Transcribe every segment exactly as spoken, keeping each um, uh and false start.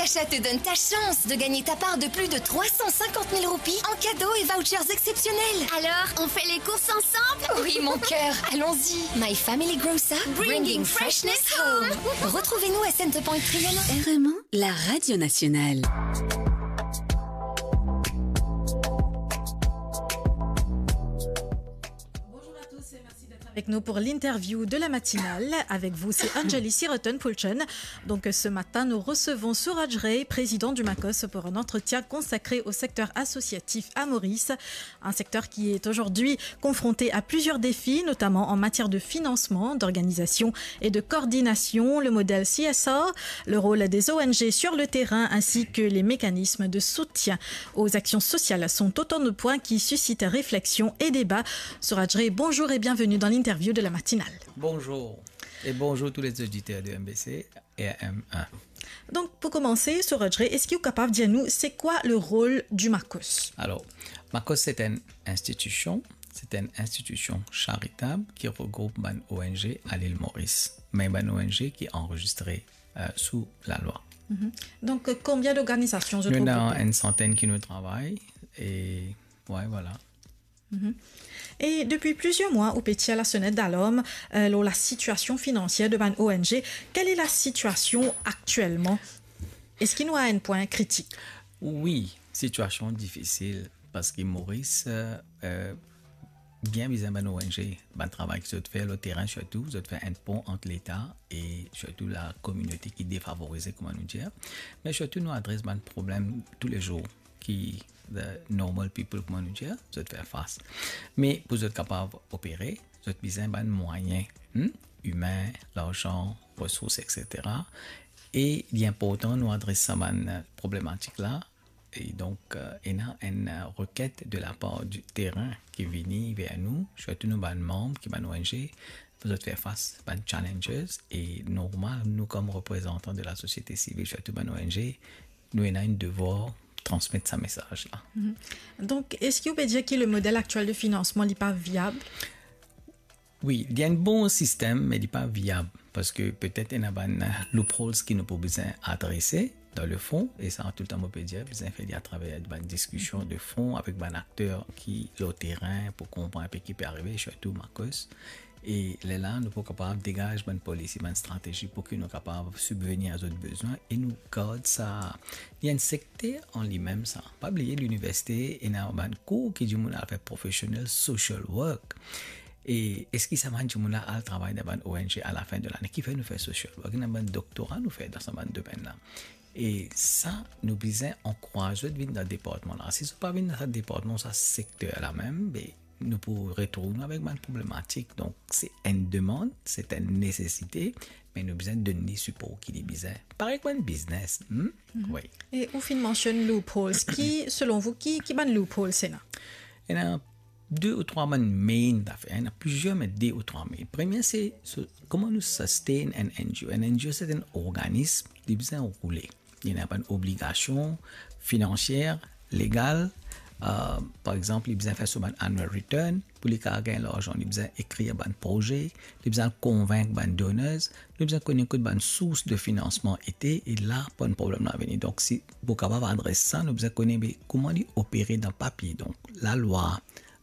Achat te donne ta chance de gagner ta part de plus de trois cent cinquante mille roupies en cadeaux et vouchers exceptionnels. Alors, on fait les courses ensemble ? Oui, mon cœur, allons-y. My Family Grocer, bringing freshness home. Retrouvez-nous à Centrepoint Trianon. R M un, la radio nationale. Bonjour à tous et merci d'être avec nous pour l'interview de la matinale. Avec vous, c'est Anjali Siroton Pulchen. Donc, euh, ce matin, nous recevons Suraj Ray, président du MACOS, pour un entretien consacré au secteur associatif à Maurice. Un secteur qui est aujourd'hui confronté à plusieurs défis, notamment en matière de financement, d'organisation et de coordination, le modèle C S R, le rôle des O N G sur le terrain, ainsi que les mécanismes de soutien aux actions sociales sont autant de points qui suscitent réflexion et débat. Suraj Ray, bonjour et bienvenue dans l'interview de la matinale. Bonjour et bonjour tous les auditeurs de M B C et M un. Donc, pour commencer, Suraj Ray, est-ce que vous êtes capable de dire nous, c'est quoi le rôle du MACOS ? Alors, MACOS, c'est une institution, c'est une institution charitable qui regroupe bann O N G à l'île Maurice, mais bann O N G qui est enregistré euh, sous la loi. Mhm. Donc, euh, combien d'organisations, je trouve, une centaine qui nous travaillent et ouais, voilà. Mhm. Et depuis plusieurs mois, ou pe tir la sonèt dalarm, euh, lor la situation financière de bann O N G. Quelle est la situation actuellement ? Est-ce qu'il nous a un point critique ? Oui, situation difficile parce que Maurice, euh, euh, bien bizin bann O N G, bann travay ki zot fer lor terin sirtou, zot fer enn pon ant Leta e sirtou la kominote ki defavorize, kouma nou dir. Me sirtou nou adres bann problem toulezour ki the normal people, kouma nou dir, zot fer fas. Me pou zot kapav opere, zot bizin bann mwayin, hmm, imin, larzan, resours, et cetera. E li inportan nou adres sa bann problematik la. E donk, euh, ena enn, euh, requête de la part du terrain ki vini ver nou, sirtou nou bann manm, ki bann O N G, pou zot fer fas bann challenges, e normal, nou kom reprezantan de la société civile, sirtou bann O N G, nou ena enn devwar transmet sa mesaz la. Mhm. Donc, est-ce que vous pouvez dire que le modèle actuel de financement n'est pas viable ? Wi, li enn bon sistem, me li pa viab, parski petet ena bann, euh, loopholes ki nou pou bizin adrese dan le fon, e sa toultan mo pe dir, bizin fer li atraver bann diskision de fon avek bann akter ki lor terin pou konpran inpe ki pe arive, sirtou MACOS. E lerla, nou pou kapav degaz bann polisi, bann stratezi pou ki nou kapav sibvenir a zot bezwin e nou gard sa. Li enn sekter an limem sa. Pa bliye, liniversite, ena bann kour ki dimoun al fer professional social work. E eski sa bann dimoun la al travay dan bann O N G alafin de lane? Kifer nou fer social work? Ena bann doktora nou fer dan sa bann domenn la. E sa, nou bizin ankouraz zot vinn dan departman la. Si zot pa vinn dan sa departman, sa sekter la mem, be, nou pou retrouv nou avek bann problematik. Donk, se enn demann, se enn nesesite, me nou bizin donn li sipor ki li bizin. Parey bann biznes, hmm? Mhm. Wi. E ou finn mansionn loopholes. Ki, selon vous, ki, ki bann loopholes ena? Ena de ou trwa bann main zafer, ena plizier, me de ou trwa main. Premie, se, se kouma nou sustain enn N G O. Enn N G O, se enn organism, li bizin roule. Li ena bann obligasion finansier, legal, euh, par exanp, li bizin fer so bann annual return, pou li kapav gagn larzan, li bizin ekrir bann proze, li bizin konvink bann donors, nou bizin kone kot bann sours de finansman ete, e la bann problem la vini. Donk, si pou kapav adres sa, nou bizin kone, be, kouma li opere dan papie. Donk, lalwa,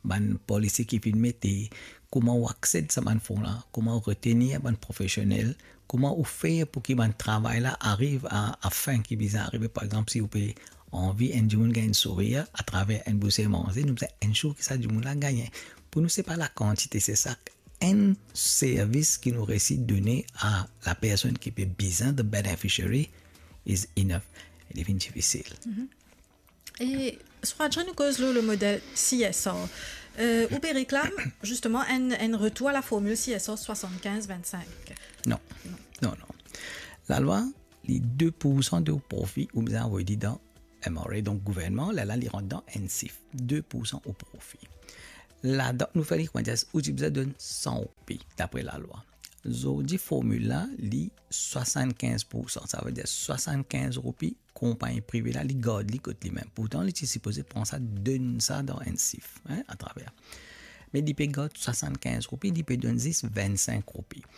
bann polisi ki finn mete, kouma ou aksed sa bann fon la, kouma ou retenir bann profesionel, kouma ou fer pou ki bann travay la ariv a, a fin ki bizin arive. Par exanp, si ou pe anvi enn dimoun gagn sourir atraver enn bouze manze, nou bizin ensure ki sa dimoun la gagne. Pou nou, se pa lakantite, se sa enn servis ki nou resi done a lapersonn ki pe bizin, the beneficiary, is enough. Li vinn difisil. Mhm. E Suraj, nou koz lor le model C S R. Euh, ou pe reklam, justement, enn, enn retour à la formule C S R soixante-quinze vingt-cinq. Non. Non. Non, non. Lalwa, li de poursan de ou profi, ou bizin avoy li dan M R A, donk gouvernman, lerla li rant dan N C I F, de poursan ou profi. Ladan, nou fer li, kouma dir, ou ti bizin donn san roupi, dapre lalwa. Zordi, formil la, li swasann-kinz poursan, savedir swasann-kinz roupi, konpagni prive la, li gard li kot limem. Pourtan, li ti sipoze pran sa, donn sa dan N C I F, hein, atraver. Me li pe gard swasann-kinz roupi, li pe donn zis vinn-sink roupi.